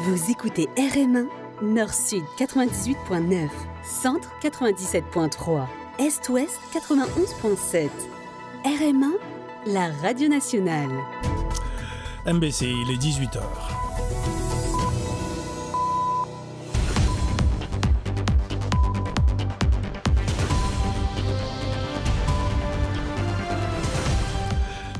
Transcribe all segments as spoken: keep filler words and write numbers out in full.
Vous écoutez R M un, Nord-Sud quatre-vingt-dix-huit point neuf, Centre quatre-vingt-dix-sept point trois, Est-Ouest quatre-vingt-onze point sept. R M un, la radio nationale. M B C, il est dix-huit heures.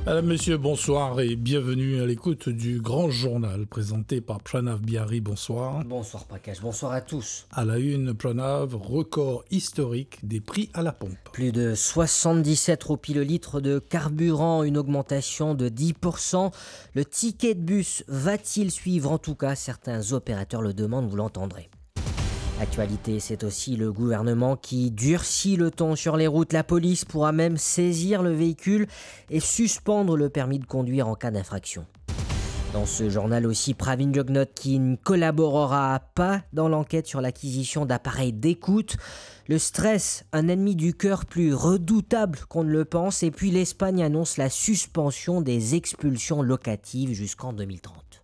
Madame, Monsieur, bonsoir et bienvenue à l'écoute du grand journal présenté par Pranav Biari. Bonsoir. Bonsoir Prakash, bonsoir à tous. À la une, Pranav, record historique des prix à la pompe. Plus de soixante-dix-sept roupies le litre de carburant, une augmentation de dix pour cent. Le ticket de bus va-t-il suivre ? En tout cas, certains opérateurs le demandent, vous l'entendrez. Actualité, c'est aussi le gouvernement qui durcit le ton sur les routes. La police pourra même saisir le véhicule et suspendre le permis de conduire en cas d'infraction. Dans ce journal aussi, Pravin Jugnauth qui ne collaborera pas dans l'enquête sur l'acquisition d'appareils d'écoute. Le stress, un ennemi du cœur plus redoutable qu'on ne le pense. Et puis l'Espagne annonce la suspension des expulsions locatives jusqu'en deux mille trente.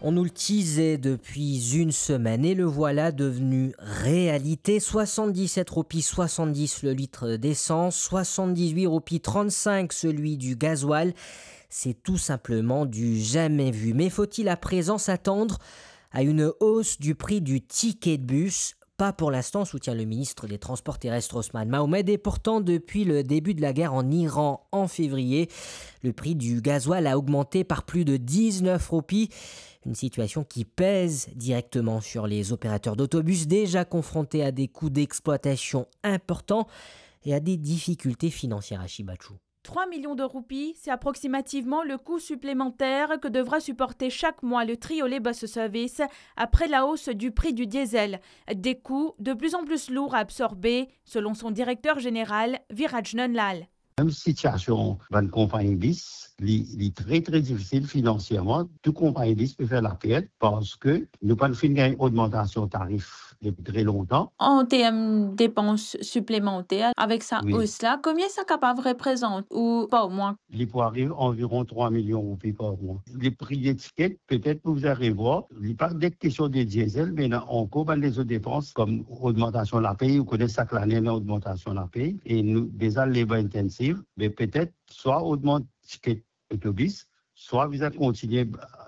On nous le teasait depuis une semaine et le voilà devenu réalité. Soixante-dix-sept roupies soixante-dix le litre d'essence, soixante-dix-huit roupies trente-cinq celui du gasoil. C'est tout simplement du jamais vu. Mais faut-il à présent s'attendre à une hausse du prix du ticket de bus ? Pas pour l'instant, soutient le ministre des Transports terrestres Osman Mohamed. Et pourtant, depuis le début de la guerre en Iran en février, le prix du gasoil a augmenté par plus de dix-neuf roupies. Une situation qui pèse directement sur les opérateurs d'autobus déjà confrontés à des coûts d'exploitation importants et à des difficultés financières à Shibachou. Trois millions de roupies, c'est approximativement le coût supplémentaire que devra supporter chaque mois le Triolet Bus Service après la hausse du prix du diesel. Des coûts de plus en plus lourds à absorber, selon son directeur général, Viraj Nunlal. Mem sitiasion bann konpagni bis, li, li tre, tre difisil finansierman. Tou konpagni bis pe fer lapert parski nou pa finn gagn ogmantasion tarif depi tre lontan. An term depans siplemanter, avek sa os la, konbien sa kapav reprezant ou par mwa? Li pou ariv anviron trwa milion roupi par mwa. Lepri letiket, petet pou bizin revwar. Li pa de kestion de diesel, me ena ankor bann lezot depans, kom ogmantasion lapey. Ou kone sak lane ena ogmantasion lapey. E nou deza labor intensive, me petet swa ogmant tiket otobis, swa bizin kontigne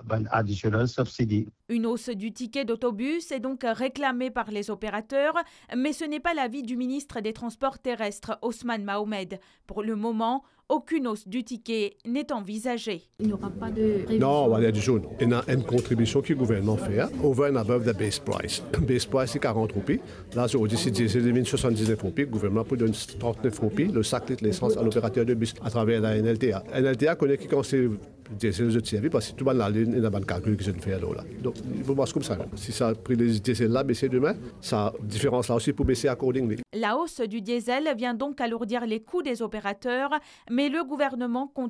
bann additional subsidy. Une hausse du ticket d'autobus est donc réclamée par les opérateurs, mais ce n'est pas l'avis du ministre des Transports terrestres, Osman Mohamed. Pour le moment, aucune hausse du ticket n'est envisagée. Il n'y aura pas de révision. Non, rien du tout, non. Ena enn kontribision ki gouvernman fer, over and above the base price. Base price, se karant roupi. La, zordi, si diesel vinn swasann-diz-nef roupi, gouvernman pou donn trant-nef roupi le sak lit lesans a loperater de bis atraver la N L T A. N L T A kone ki kan se diesel zot servi, parski tou bann lalinn ena bann kalkil ki zot fer lor la. Donk, li pou mars koumsa mem. Si sa pri le diesel la bese demin, sa diferans la osi pou bese accordingly. La hausse du diesel vient donc alourdir les coûts des opérateurs, mais le gouvernement compte